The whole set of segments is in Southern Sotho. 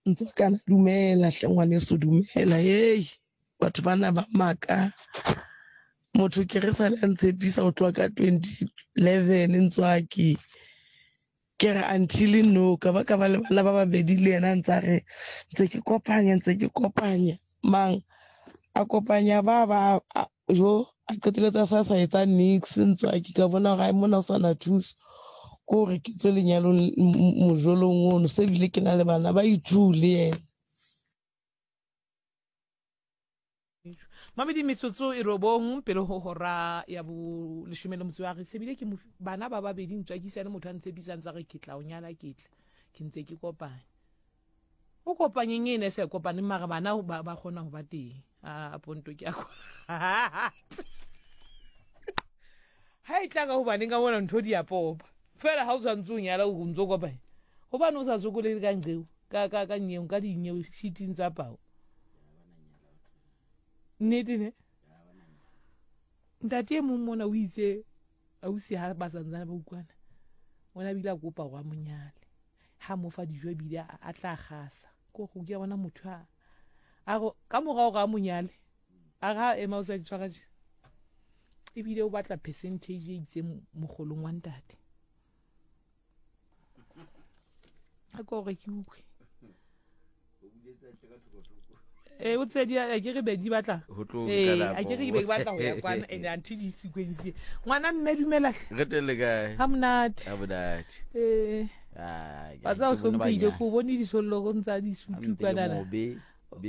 Ntswakana dumela hle ngwaneso dumela hei batho bana ba maka motho ke re sale a ntshepisa go tloga ka 2011 ntswaki ke re until no ka ba ka ba le bana ba babedi le yena ntse a re ntse ke kopanya ntse ke kopanya mang a kopanya ba ba jo a qeteletse a sa sa etsa nix ntswaki ka bona gore ai mona o sa na thuso ko gore ke tswe lenyalong mojolong ono se ebile ke na le bana ba ithu le yena. Mamedi metsotso e robong pele ho hora ya bo leshome le motso wa re sebile ke bana ba babedi ntswakisa le motho a ntshepisang tsa re ke tla o nyala ke tla ke ntse ke kopanya o kopanyeng e ne se kopaneng mara bana ba, ba kgona go ba teng a ponto ke a ha e tla ka gobaneng ka bona ntho di a popa fela ga o tshwanetse o nyala o ntse o kopanya gobane o sa sokole ka nqeo ka ka ka nyeo ka dinyeo sheeting tsa pao nnete ne ntate e mong mona o itse ausi ha ba santsane ba utlwana o ne a bile a kopa gore a mo nyale ha mo fa dijo ebile a tla gasa ko go ke bona motho a a go ka morago ga mo nyale a ga ema o sa di tshwara je ebile o batla percentage e itseng mogolong wa ntate a ko gore ke utlwe ee o tsedi a ke re be di batla ee a ke re be di batla go ya kwana and anthe di sequence ngwana mme dumela re tele kae ha monate ha monate ee ba tsa o hlomphehile ko bone disollo go ntsa di sutu kwanana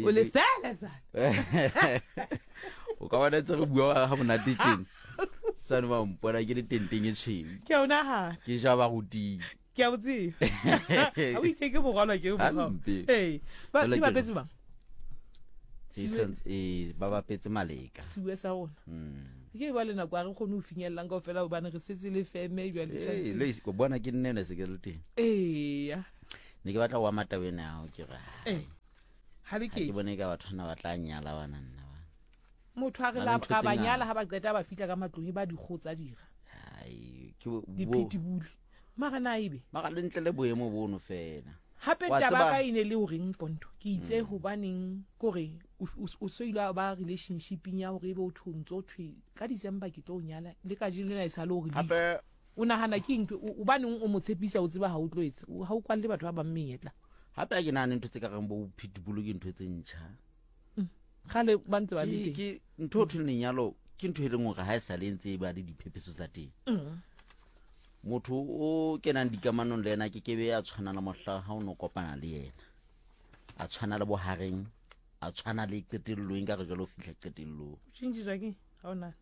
o le sele sale o ka bona tse re bua ha monate tjena sane ba mpona ke le tenteng e tshweu ke a o nagana ke ja ba rutile ke a botseba ga o itse ke mogwalwa ke Hampe. ee ba Jwale di ke re- bapetse bang E santse- ee, ba bapetse maleka siwe sa rona ke ba le nako a re kgone go finyelelang kao fela gobane re setse le feme jale Ee, le ise- ko bona ke nne ne se ke le teng eya ne ke batla go ama taba ena yago ke re ee ga le ha ke ke bone ka batho bana ba tla nyala bana nna ba motho a re Na le la ntho ga tse ba ngata. nyala ga ba qeta ba fitlha ka matlong e ba dikgo tsa dira Ai, ke bo- bo- diphetibule mara na ebe mara le ntle le boemo bono fela gape Wa taba tseba- ka e ne le o reng ponto ke itse gobaneng kore o so ile ba relationshipeng ya gore ebe o thwe o ntse o thwe ka december ke tlo o nyala le ka jeno lena e sa le gore leihlo gape o nagana ke eng gobaneng o mo tshepisa o tseba ga o tlo etse ga o kwalle batho ba bang menyetla gape a ke nagane ntho tse ka reng bo pitbull ke ntho tse ntšha gale ba ntse ba le ke teng ke ntho o thweng lenyalo ke ntho e leng gore ga e sale e ntse e ba le diphephetso tsa teng motho o kenang dikamanong le ena ke kebe a tshwana le mohla ga o ne o kopana le yena a tshwana le bohareng a tshwana le qetellong ka re jalo o fitlha qetellong tšhintšhiswa ke ga o nana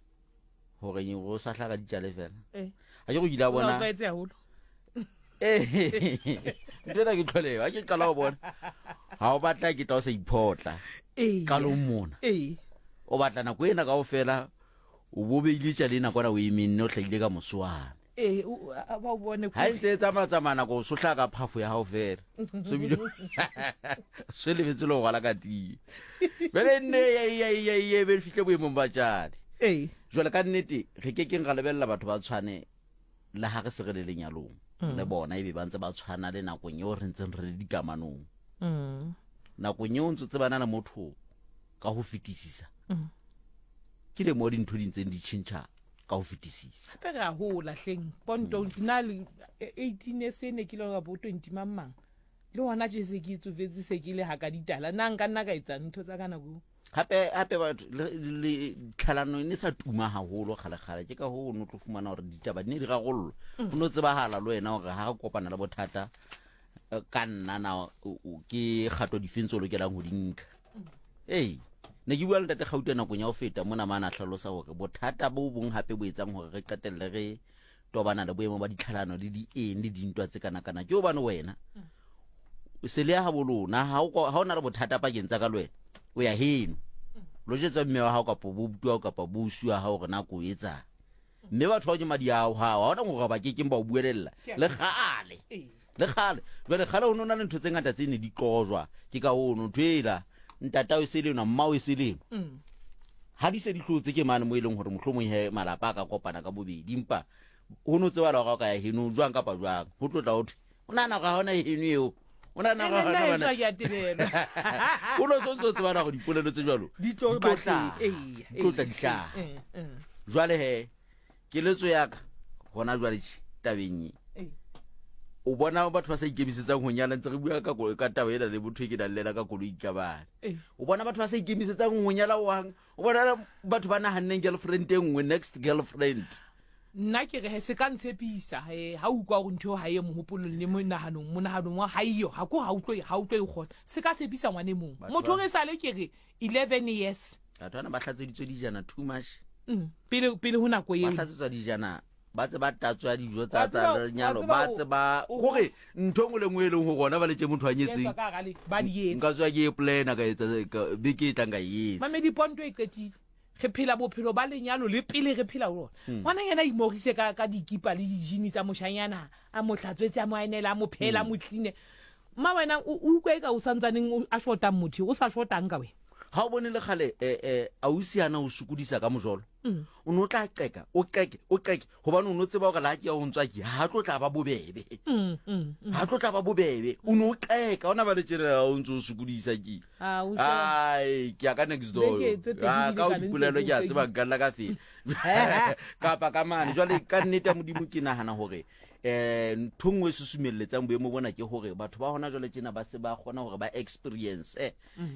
gore go sa hlaga ditšale fela ee a ke go kile a o bona tlwaetse haholo Ee, ntho ena ke tlholeo a ke qala go bona ga o batla ke tla o sa iphotla ee qalong mona ee o batla nako ena kao fela o bo beile tšale ena kwana o emenne o hlahile ka mosoane ee ba o bone ga e ntse e tsamaya-tsamaya nako o sohla ka phafo ya gago fela so bile se lebetse le go rwala ka tie bele nne e be fitlhe boemong ba tšale ee jwale ka nnete re ke keng ra lebelela batho ba tshwane le ga re se re le lenyalong le bona ebe ba ntse ba tshwana le nakong eo re ntseng re le dikamanong nakong eo ntse tsebana le motho ka go fetisisa ke le mo dintho di ntseng di tšhentšha ka go fetisisa gape re a gola hleng ponto nna le 18 e se ne ke le bo 20 mang mang le gona je se ke tsofetse se ke le ga ka ditala nna nka nna ka etsa ntho tsa ka nako eo. Gape gape batho le tlhalano e ne sa tuma haholo kgale-kgale ke ka hoo o ne o tlo fumana gore ditaba di ne di rarollwa o ne o tsebagala le wena gore ga re kopana le bothata ka nna na ke kgato difeng tse o lokelang go di nka ee ne ke bua le ntate Gauta nakong ya go feta mona mane a hlalosa gore bothata bo bong gape bo etsang gore re qetelle re tobana le boemo ba ditlhalano le di eng le dintwa tse kana-kana ke obane wena se le ya gabo lona ha o na le bothata pakeng tsa ka le wena o ya heno lo jetsa mme wa gago kapa bo buti wa gago kapa bo usi wa gago gore nako o etsang mme batho ba ke madi ao gago ga ona gore ba kekeng ba o buelelela le gale le gale jale gale o ne o na le ntho tse ngata tse ne di qojwa ke ka ono ntho ela ntatao e se leno mmao e se leno ha di se di hlotse ke mane mo e leng gore mohlomong he malapa a ka kopana ka bobedi empa go no tsebala gore o ka ya heno jwang kapa jwang go tlotla go thwe o nagana gore ga ona heno eo O na Ene nna heso ha ke a tebelwa. O no so ntse o tsebana gore dipolelo tse jalo Di tlo di tlo ba hlaha. teng. Eya, Di tlo tla eya, di hlaha. eh, eh. Jwale he, keletso ya ka gona jwale tje tabeng e. Ee. O bona batho ba sa ikemisetsang ho nyala ntse re bua ka ka taba ena le motho e ke nang le ena ka koloi ka bane. Ee. O bona batho ba sa ikemisetsang ho nyala hohang. O bona batho ba nahanneng girlfriend e nngwe, next girlfriend. Nna ke re he se ka ntshepisa he ha o utlwa hore ntho eo ha e mohopolong le monahanong, monahanong wa ha eyo, ha ko ha o tlo ha o tlo e kgona. Se ka tshepisa ngwana e mong. Batho Motho ba- re sale ke re 11 years. Batho bana ba hlatseditswe dijana too much. Pele pele ho nako Ba eo. hlatsetswa dijana ba tse ba tatswa dijo Wa tsa tsa tseba- wa lenyalo tseba ba o- tse ba o- gore ntho e nngwe le nngwe e leng gore gona ba letse motho a nyetseng Etswa ka hara le ba di etsa. nka tswa ke e plana ka etsa beke e tlang ka e etsa Mamedi ponto e qetile. Re phela bophelo ba lenyalo le pele re phela ho lona. Ngwana yena a imorise ka ka dikipa le dijini tsa moshanyana, a mo hlatswetse, a mo aenela, a mo phehela, a mo clean. Mma wena o o utlwa eka o santsaneng o a shotang motho eo, o sa shotang ka wena. Ha o bone le kgale ausi ana o sokodisa ka mojolo. O ne o tla qeka, o qeke, o qeke hobane o ne o tseba hore la ke ya ho ntswa ke ha tlo tla ba bobebe. Ha tlo tla ba bobebe. O ne o qeka, ona ba le tjena o ntse o sokodisa ke. Ah, o Ai, ke ya ka next door. Beke tse pedi Ah, di ka o le tsa le dipolelo ntse ke a o tseba nka nna ka fela. Kapa ka mane. Jwale ka nnete ya Modimo ke nahana hore ntho nngwe e susumelletsang boemo bona ke hore batho ba hona jwale tjena ba se ba kgona hore ba experience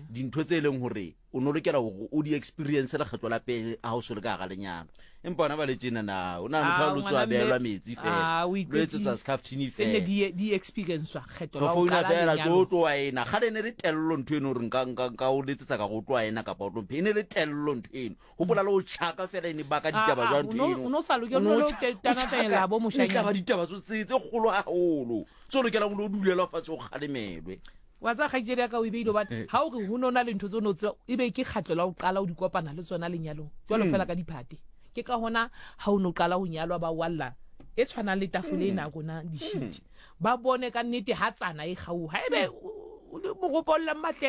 dintho tse leng hore o no lokela hore o di experience lekgetlo la pele ha o so le ka hara lenyalo. Empa hona ba le tjena na o na motho a Ah, lo tswa ngwana mme- behelwa metsi fela. Ah, o Lo iqetile. etsetswa scaftini Tse nne fela. di experience-wa kgetho Re la ho founa qala fela lenyalo. tlo tloa ena. Kgale e ne le tello ntho eno hore nka o letsetsa ka go tloa ena kapa o tlo mphe. E ne le tello ntho eno. Hopola le ho tjhaka fela e ne baka ditaba Ah, ah, jwang ntho eno. o no sa lokela, O no o no o tanatela tjhaka, bo e tla moshanyana. ba ditaba tse kgolo haholo. Tse o lokelang o lo dulelwa fatshe o kgalemelwe. Wa tseba kgaitsedi ya ka o e beile hobane ha o re ho no na le ntho tse o no tseba, e be ke kgetlo la ho qala o di kopana le tsona lenyalong. Jwalo fela ka diphate. Ke ka hona ha o no qala ho nyalwa ba walla e tshwanang le tafole ena ya rona dishiti. Ba bone ka nnete ha tsana e kgaoha. Haebe o le moropollang mahleke.